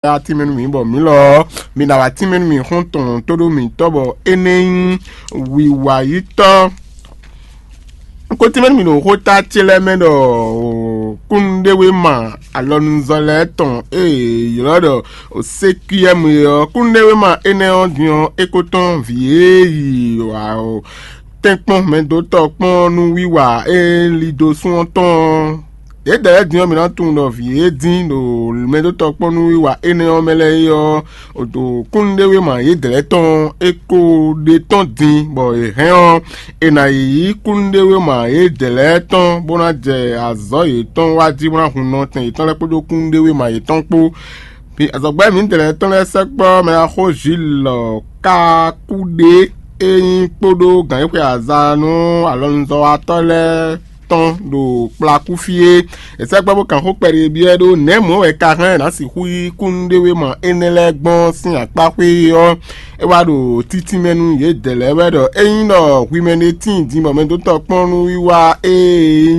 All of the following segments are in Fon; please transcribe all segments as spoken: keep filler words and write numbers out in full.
wá tínmɛ nú mǐ bɔ mǐ lɔ ɔ́, mi ná wá tínmɛ nú mǐ xɔ́ntɔn tó ɖó mǐtɔn bɔ é nɛ́ nyí wiwa yítɔ́. Un ko tínmɛ nú mǐ ɖo xóta ce lɛ́ɛ mɛ ɖɔ kúnnuɖéwéma alɔnuzɔ́ lɛ́ɛ tɔn e è ylɔ́ ɖɔ Sékiyɛ́mu é ɔ́, kúnnuɖéwéma énɛ́ ɔ́ din ɔ́, é ko tɔ́n vǐ e yi tɛ́nkpɔ́n mɛdótɔ́ kpɔ́n nú wiwa e lí dó sún ɔ́ tɔn ɔ́. Yědɛɛ lɛ́ɛ din ɔ́, mi ná tunwun ɖɔ vǐ e dín ɖo mɛdótɔ́ kpɔ́n nú wiwa énɛ́ ɔ́ mɛ lɛ́ɛ é ɔ́, ɖo kúnnuɖéwéma yědɛɛ lɛ́ɛ tɔn é ko ɖe tɔ́n din, bɔ è hɛn ɔ́, è nǎ yi yí kúnnuɖéwéma yědɛɛ lɛ́ɛ tɔn bó ná jɛ azɔ̌ yětɔn wa jí bó ná hun nɔtɛn yětɔn lɛ́ɛ kpódó kúnnuɖéwéma yětɔn kpó. Azɔ̌gbɛ́ mǐdɛɛ lɛ́ɛ tɔn lɛ́ɛ sɛkpɔ́ mɛ axó Zilɔ Kakuɖé e nyí kpódó gǎn e xwe aza nú alɔnuzɔ́watɔ́ lɛ́ɛ tɔn ɖo kplakú fí é. È sɛkpɔ́ bó kan xó kpɛɖé byɔ́ ɛ ɖó nɛ̌ mɔ̌ wɛ ka hɛn ná sixú yí kúnnuɖéwéma énɛ́ lɛ́ɛ gbɔn sín akpá xwé é ɔ́, é wá ɖo títínmɛ nú yědɛɛ lɛ́ɛ wɛ ɖɔ ényí ɖɔ hwi mɛ ɖé tíin din bɔ mɛdótɔ́ kpɔ́n nú wiwa e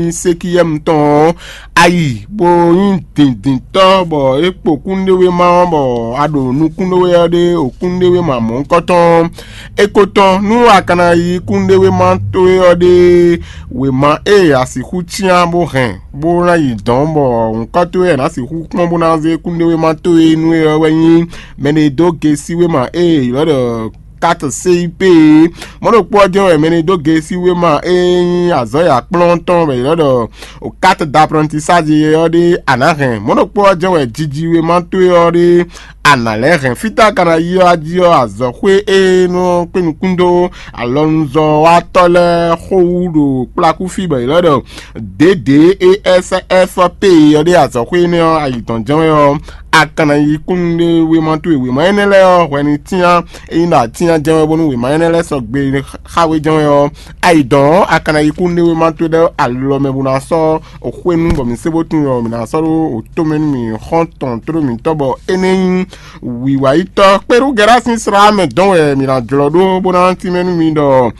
nyí Sékiyɛ́mu tɔn ɔ́, a yi bó nyí dǐndíntɔ́ bɔ é kpo kúnnuɖéwéma ɔ́, bɔ a ɖo nukún ɖó we ɔ́ ɖe ɖo kúnnuɖéwéma mɔ̌hunkɔtɔn ɔ́, é ko tɔ́n nú a ka ná yí kúnnuɖéwéma towe ɔ́ ɖe wěma e a sixú cyán bó hɛn bó ná yi dɔ̌n, bɔ nyǐkɔ towe wɛ è nǎ sixú kpɔ́n bó ná zé kúnnuɖéwéma towe nú é ɔ́ wɛ nyí mɛ e dó gesí wéma e è ylɔ́ ɖɔ kát C I P é. Mɔ̌ ɖokpó ɔ́ jɛ́n wɛ mɛ e dó gesí wéma e nyí azɔ̌ e akplɔ́n tɔn wɛ è ylɔ́ ɖɔ kát d'apprentissage ɔ́ ɖe a nǎ hɛn. Mɔ̌ ɖokpó ɔ́ jɛ́n wɛ jiji wéma towe ɔ́ ɖe a nǎ lɛ́ hɛn. Fítɛ́ a ka ná yi ɔ́ a jí ɔ́, azɔ̌xwé e nɔ kpé nukún dó alɔnuzɔ́watɔ́ lɛ́ɛ xó wú ɖo kplakú fí bɔ è lɛ́ ɖɔ D D E S F P ɔ́ ɖe azɔ̌xwé énɛ́ ɔ́, ayi tɔn jɛ́n wɛ ɔ́, a ka ná yi kúnnuɖéwéma towe wěma énɛ́ lɛ́ɛ ɔ́ hwɛ ní cyán, ényí ɖɔ a cyán jɛ́n wɛ bónú wěma énɛ́ lɛ́ɛ sɔgbe xá we jɛ́n wɛ ɔ́, ayi dɔn ɔ́, a ka ná yi kúnnuɖéwéma towe lɛ́ɛ alɔ mɛ bó ná sɔ́ xwé nú bɔ mǐ sé bó tunwun ɔ́, mǐ ná sɔ́ ɖó tomɛ nú mì xɔ́ntɔn tló mǐtɔn bɔ é nɛ́ nyí wǐwáyítɔ́. Kpéɖú Gɛ̌rá sín slá mɛ dɔn wɛ mǐ ná jlɔ́ ɖó bó ná tínmɛ nú mi ɖɔ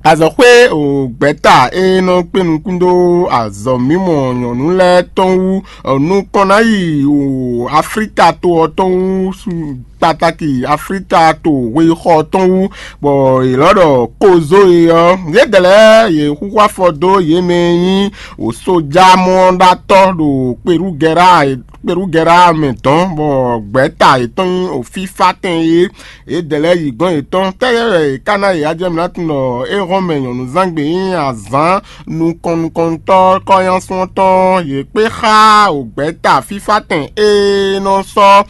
azɔ̌xwé o gbɛ̌ta e nɔ kpé nukún dó azɔ̌ mímɔ nyɔ̌nu lɛ́ɛ tɔn wú nukɔn ná yi o Aflíka to ɔ́ tɔn wú kpatáki Aflíka to hwexɔ tɔn wú, bɔ è lɔ́ ɖɔ kozo e ɔ́, yědɛɛ lɛ́ɛ yě xúxú afɔ dó yě mɛ e nyí wǒsójámɔ́ɖatɔ́ ɖo Kpelúgɛ́ra Kpelúgɛ́ra mɛ dɔn, bɔ gbɛ̌ta yětɔn nyí wǒfífátɛn é. Yědɛɛ lɛ́ɛ yi gɔ́n yětɔn tɛ́ wɛ è ká ná yě? Ajɛmɛ ná tunwun ɖɔ é hɔn mɛ nyɔ̌nuzángbe nyí azǎn nukɔn nukɔntɔ́ kɔ́nyásun tɔn yě kpé xá wǒgbɛ́ta fífátɛn e nɔ sɔ́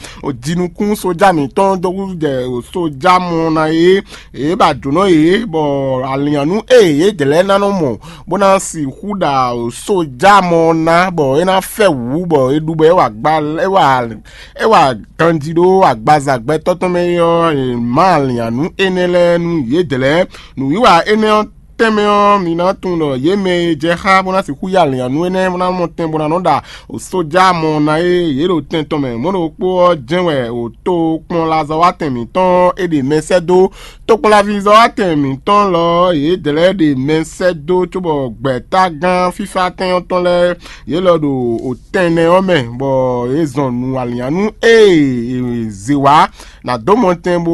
jinukún sójá mǐtɔn dó húzú jɛ sójá mɔ ná é. Yě ba jǒnɔ yě, bɔ alǐannú e yědɛɛ lɛ́ɛ ná nɔ mɔ bó ná sixú ɖa sójá mɔ ná, bɔ é ná fɛ wǔ, bɔ é ɖu bɔ é wa gba é wa é wa ganjí ɖó agbaza gbɛtɔ́ tɔn mɛ é ɔ́, è má alǐannú énɛ́ lɛ́ɛ nú yědɛɛ lɛ́ɛ. Nǔwiwa énɛ́ ɔ́ tɛnmɛ ɔ́, mi ná tunwun ɖɔ yě mɛ e jɛ xá bó ná sixú yá alǐannú énɛ́ bó ná mɔ tɛn bó ná nɔ ɖa sójá mɔ ná é yě ɖo tɛn tɔn mɛ. Mɔ̌ ɖokpó ɔ́ jɛ́n wɛ wǒ tokpɔnlazɔ́watɛn mǐtɔn é ɖe mɛ sɛ́ dó. Tokpɔnlaví zɔ́watɛn mǐtɔn lɔ ɔ́, yědɛɛ lɛ́ɛ ɖe mɛ sɛ́ dó cóbɔ gbɛ̌tágán fífátɛn ɔ́ tɔn lɛ́ɛ, yě lɔ ɖo tɛnɛ ɔ́ mɛ, bɔ yě zɔn nǔ alǐannú e è zě wá ná dó mɔtɛn bó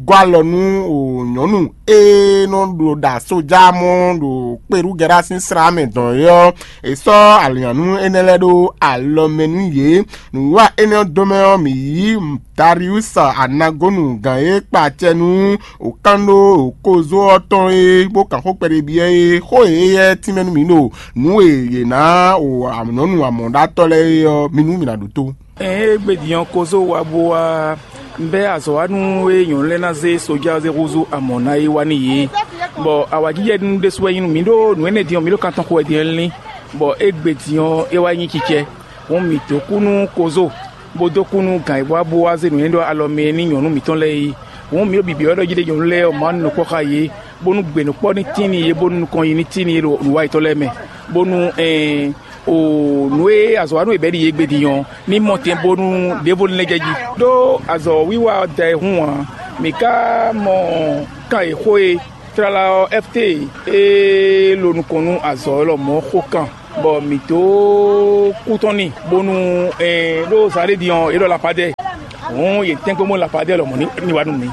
gɔ́ alɔ nú nyɔ̌nu e nɔ ɖo ɖa sójá mɔ ɖo Kpelúgɛ́ra sín slá mɛ dɔn é ɔ́, è sɔ́ alǐannú énɛ́ lɛ́ɛ ɖó alɔ mɛ nú yě. Nǔwiwa énɛ́ ɔ́ dó mɛ ɔ́, mǐ yí Dariusa Anagonu gǎn e kpa acɛ nú wǒkánɖó wǒkozó ɔ́ tɔn é, bó kan xó kpɛɖé byɔ́ é. Xó e éyɛ́ tínmɛ nú mǐ ɖo nǔ e yě ná o nyɔ̌nu amɔ̌ɖatɔ́ lɛ́ɛ é ɔ́, mi nú mǐ ná ɖótó. Ée égbé din ɔ́, kozó wá bó wá bɛ́ azɔ̌wanú e nyɔ̌nu lɛ́ɛ ná zé sojá ɔ́ zé húzú amɔ̌ ná é wá nú yě, bɔ awǎjijɛ nú ɖésú wɛ nyí nú mǐ ɖó nǔ énɛ́ din ɔ́, mǐ ɖo kan tɔn xo wɛ din ɔ́ lín, bɔ égbé din ɔ́, é wá nyí cicɛ. Hǔn mǐ dó kú nú kozó, bó dó kú nú gǎn e bó wá bó wá zé nǔ e ɖó alɔ mɛ é nú nyɔ̌nu mǐtɔn lɛ́ɛ é. Hǔn mǐ ɖo bǐbí ɔ́ ɖɔ jí ɖé nyɔ̌nu lɛ́ɛ ɔ́, Mawu nukpɔ́ xá yě, bónú gbenǔkpɔ́ ní tín n'i yě, bónú nukɔn yi ní tín n'i yě ɖo nǔwanyiyi tɔn lɛ́ɛ mɛ, bónú ɛɛn, o nǔ e azɔ̌wanú e bɛ̌ ɖi yě gbe din ɔ́, ní mɔ tɛn bónú ɖěvo ní lɛ́ jɛ jí. Ɖó azɔ̌wiwa ɔ́ da e hún ǎ. Mǐ ka mɔ kan e xó e tlala ɔ́, Ɛfte e lo nukɔn nú azɔ̌ lɔmɔ̌ xó kan. Bɔ mǐ dó kú tɔn n'i, bónú ɛ ɖó zǎn ɖé din ɔ́, é ɖɔ lapadɛ. Hǔn yě tɛ́nkpɔ́n bónú lapadɛ lɔmɔ̌ ní ní wá nú mǐ.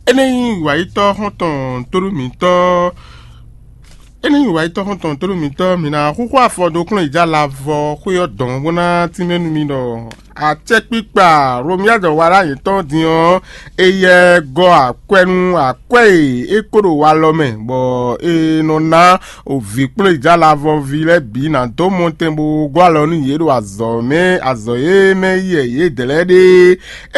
Énɛ́ nyí wǎyítɔ́ xɔ́ntɔn tónú mǐtɔn. Énɛ́ nyí wǎyítɔ́ xɔ́ntɔn tónú mǐtɔn, mǐ ná xúxú afɔ dó kplɔ́n yi jɛ alavɔ xwé ɔ́ dɔn bó ná tínmɛ nú mi ɖɔ acɛkpikpa Romia jɔ wa ɖó ayǐ tɔn din ɔ́, éyɛ́ gɔ́ akwɛ́ nú akwɛ́ e é kó ɖo walɔ mɛ, bɔ è nɔ ná vǐ kplɔ́n yi jɛ alavɔví lɛ́ɛ bǐ ná dó mɔtɛn bó gɔ́ alɔ nú yě ɖo azɔ̌ mɛ, azɔ̌ e mɛ yɛ yědɛɛ lɛ́ɛ ɖe.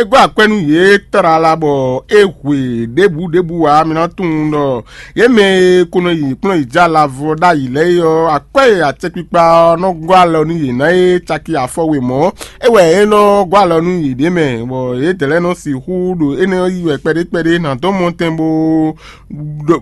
É gɔ́ akwɛ́ nú yě tlala bɔ é hwe ɖěbǔ ɖěbǔ ǎ. Mi ná tunwun ɖɔ yě mɛ e ko nɔ yi kplɔ́n yi jɛ alavɔ ɖ'ayǐ lɛ́ɛ é ɔ́, akwɛ́ e acɛkpikpa ɔ́ nɔ gɔ́ alɔ nú yě ná é caki afɔ we mɔ̌. É wɛ é nɔ gɔ́ alɔ nú yěɖée mɛ, bɔ yědɛɛ lɛ́ɛ nɔ sixú ɖo énɛ́ ɔ́ yí wɛ kpɛɖé kpɛɖé ná dɔn mɔtɛn bó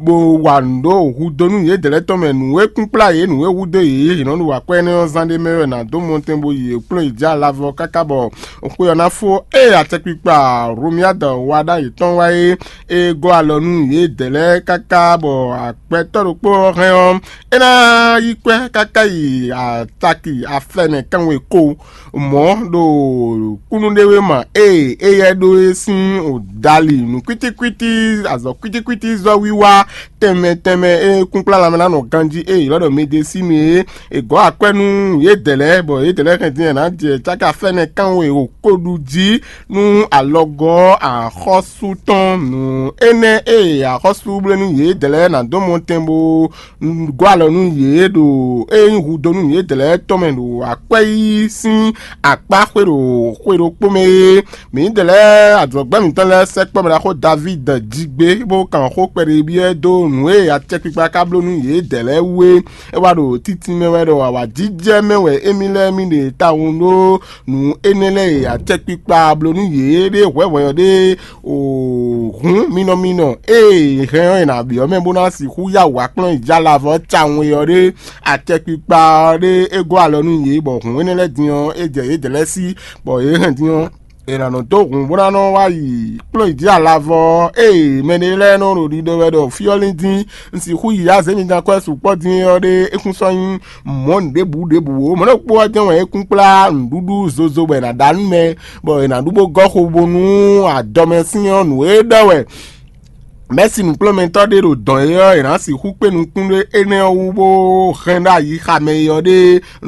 bó wa nǔ ɖó hudonu yědɛɛ lɛ́ɛ tɔn mɛ. Nǔ e kún kplá yě, nǔ e hudó yě, yě nɔ ɖo akwɛ́ énɛ́ ɔ́ zán ɖé mɛ wɛ ná dó mɔtɛn bó yi kplɔ́n yi jɛ alavɔ káká bɔ xwe ɔ́ ná fó. Ée acɛkpikpa Romiadɔ wa ɖó ayǐ tɔn wá é, é gɔ́ alɔ nú yědɛɛ lɛ́ɛ káká bɔ akwɛtɔ́ ɖokpó ɔ́ hɛn ɔ́, é ná yí kwɛ́ káká yi ataki afɛmɛ kanwe ko mɔ̌ ɖo kúnnuɖewéma e éyɛ́ ɖó é sín dali nǔ kwítíkwítí, azɔ̌ kwítíkwítí zɔ́ wiwa tɛnmɛ tɛnmɛ e kúnkplá lanmɛ ná nɔ ganjí e yě lɔ́ ɖɔ medesínu é. È gɔ̌ akwɛ́ nú yědɛɛ lɛ́ɛ, bɔ yědɛɛ lɛ́ɛ hɛn din ná jɛ cáka fɛ́nɛ kánwe ko ɖu jí nú alɔgɔ́ axɔ́sú tɔn. Nǔ énɛ́ e axɔ́sú bló nú yědɛɛ lɛ́ɛ ná dó mɔtɛn bó gɔ́ alɔ nú yě ɖo é nyí hudó nú yědɛɛ lɛ́ɛ tɔn mɛ ɖo akwɛ́ yíyí sín akpá xwe ɖo xwe ɖokpó mɛ é. Mǐdɛɛ lɛ́ɛ, azɔ̌gbɛ́ mǐtɔn lɛ́ɛ sɛkpɔ́ mɛ ɖaxó Davídi jí gbé, bó kan xó kpɛɖébyɔ́ dó nǔ e acɛkpikpa ka bló nú yědɛɛ lɛ́ɛ wú é. É wá ɖo títí mɛ wɛ ɖɔ awǎjijɛ mɛ wɛ émí lɛ́ɛ mì ɖe tawun ɖó nǔ énɛ́ lɛ́ɛ e acɛkpikpa bló nú yě ɖé hwɛ̌hwɛ́ ɔ́ ɖé. Hǔn minɔminɔ ée è hɛn ɔ́, è nǎ byɔ́ mɛ bó ná sixú yá wǔ wá kplɔ́n yi jɛ alavɔ tawun e ɔ́ ɖé. Acɛkpikpa ɔ́ ɖé é gɔ́ alɔ nú yě, bɔ hǔn énɛ́ lɛ́ɛ din ɔ́, é jɛ yědɛɛ lɛ́ɛ sí, bɔ yě hɛn din ɔ́, è nǎ nɔ dó hǔn bó ná nɔ wá yi kplɔ́n yi jɛ alavɔ ɔ́. Ée mɛɖé lɛ́ɛ nɔ ɖo ɖiɖɔ wɛ ɖɔ fí ɔ́ lín dín, un sixú yi azě mi dán kwɛ́ sukpɔ́ dín é ɔ́ ɖé, é kún sɔ́ nyí mɔ̌ nǔɖébǔ ɖěbǔ ó. Mɔ̌ ɖokpó ɔ́ jɛ́n wɛ é kún kplá nǔɖuɖu zozo bɔ è nǎ ɖa nú mɛ, bɔ è nǎ ɖu bó gɔ́ xo bónú adɔmɛsin ɔ́ nǔ e ɖɔ wɛ mɛ̌si nǔkplɔ́nmɛtɔ́ ɖé ɖo dɔ̌n é ɔ́, è nǎ sixú kpé nukún ɖé énɛ́ ɔ́ wú bó hɛn ɖó ayi xa mɛ e ɔ́ ɖe.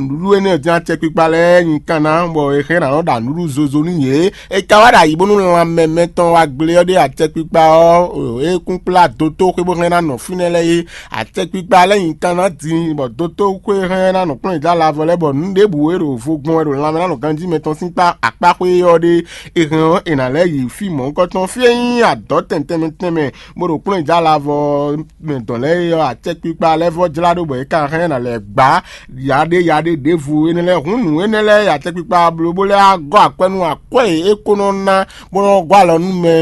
Nǔɖuɖu énɛ́ ɔ́ jɛ́n acɛkpikpa lɛ́ɛ nyi kan ná, bɔ è hɛn ná nɔ ɖa nǔɖuɖu zozo nú yě. È ka wá ɖo ayǐ bónú lanmɛ mɛtɔn wá gblé ɔ́ ɖe acɛkpikpa ɔ́, é kún kplá dotó xwé bó hɛn ná nɔ fínɛ́ lɛ́ɛ é. Acɛkpikpa lɛ́ɛ nyi kan ná din, bɔ dotó xwé hɛn ná nɔ kplɔ́n yě dó alavɔ lɛ́ɛ, bɔ nǔ ɖěbǔ e ɖo vo gbɔn wɛ ɖo lanmɛ ná nɔ ganjí mɛtɔn sín kpá akpá xwé ɔ́ ɖe. È hɛn ɔ́, è nǎ lɛ́ yi fí mɔ̌hunkɔtɔn fí e nyí adɔ̌ tɛnmɛ tɛnmɛ tɛnmɛ, bó ɖo kplɔ́n yi jɛ alavɔ mɛ dɔn lɛ́ɛ é ɔ́, acɛkpikpa lɛ́ɛ vɔ́ jlá ɖó bɔ é ka hɛn ná lɛ́ gbá yaɖé yaɖé ɖěvo énɛ́ lɛ́ɛ. Hǔn nǔ énɛ́ lɛ́ɛ e acɛkpikpa bló bó lɛ́ wá gɔ́ akwɛ́ nú akwɛ́ e é ko nɔ ná bó nɔ́ gɔ́ alɔ nú mɛ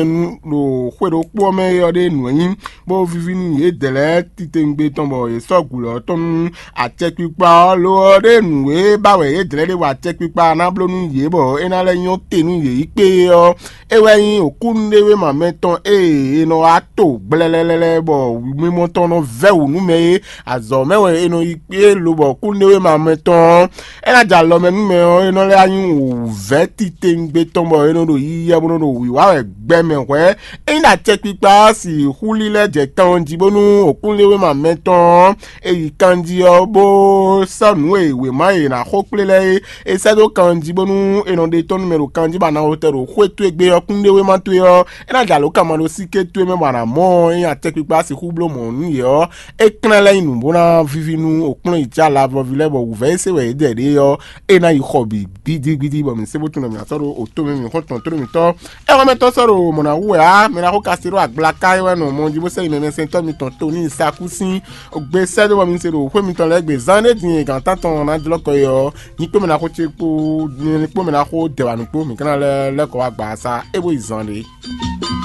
ɖo xwe ɖokpó ɔ́ mɛ é ɔ́ ɖe nǔ e nyí, bó víví nú yědɛɛ lɛ́ɛ titewungbe tɔn bɔ yě sɔ́ gǔ lɔ́ tɔn nú acɛkpikpa ɔ́. Lo ɔ́ ɖe nǔ e ba wɛ yědɛɛ lɛ́ɛ ɖe wa acɛkpikpa ná bló nú yě bɔ é ná lɛ́ nyɔ́ te nú yě yi kpé é ɔ́, é wɛ nyí wǒkúnúɖewéma mɛtɔn e è nɔ wá to gblɛlɛlɛlɛ bɔ mimɔ tɔn nɔ vɛ́ wǔ nú mɛ é. Azɔ̌ mɛ wɛ è nɔ yi kpé lobɔ kúnúɖewéma mɛtɔn ɔ́, é ná jɛ alɔ mɛ nú mɛ ɔ́, é nɔ lɛ́ wá nyí wǔvɛ́ titewungbe tɔn bɔ è nɔ ɖo yiyɛ bó nɔ ɖo wǐwá wɛ gbɛ mɛ hwɛ̌. Ényí ɖo acɛkpikpa ɔ́ sixú lílɛ́ jɛ kan ɔ́ jí bónú wǒkúnúɖewéma mɛtɔn ɔ́, è yi kanjí ɔ́, bó sɔ́ nǔ e wěma e è nǎ xo kplé lɛ́ɛ é, è sɛ́ dó kanjí bónú è nɔ ɖe tɔ́n nú mɛ ɖo kanjí bɔ a nǎ wotɛ ɖo xwé towe gbe ɔ́, kúnɖéwéma towe ɔ́, é ná jɛ alǒ kan ma ɖo síké towe mɛ bɔ a nǎ mɔ ɔ́, ényí acɛkpikpa sixú bló mɔ̌ nú yě ɔ́, é klɛ́n lɛ́ nyí nǔ bó ná víví nú wǒkplɔ́n yi jɛ alavɔví lɛ́ɛ bɔ wǔvɛ́ e se wɛ yě ɖɛ ɖe ɔ́, é ná yi xɔ bǐ gbídígbídí bɔ mǐ sé bó tunwun ɖɔ mǐ ná sɔ́ ɖó otó mɛ mǐ xɔ́ntɔn tlóló mǐtɔn. É hɔn mɛ tɔn sɔ́ ɖo mɔ̌ ná wú wɛ ǎ, mɛ ná xo ka se ɖó agblaka é wɛ nɔ mɔ jí bó sɛ́ yi mɛmɛsɛntɔ́ mitɔn Toni Saku sín gbe sɛ́ dó bɔ mi se ɖo xwé mitɔn lɛ́ɛ gbe zán ɖé din e gǎn tántɔn ná jlɔ́ kɔ é ɔ́, nyí kpé mɛ ná xo ce kpó nyí kpó mɛ ná xo dɛ̌wanu kpó mǐ ka ná lɛ́ lɛ́ kɔ wá gba sa é bó yi zán ɖé.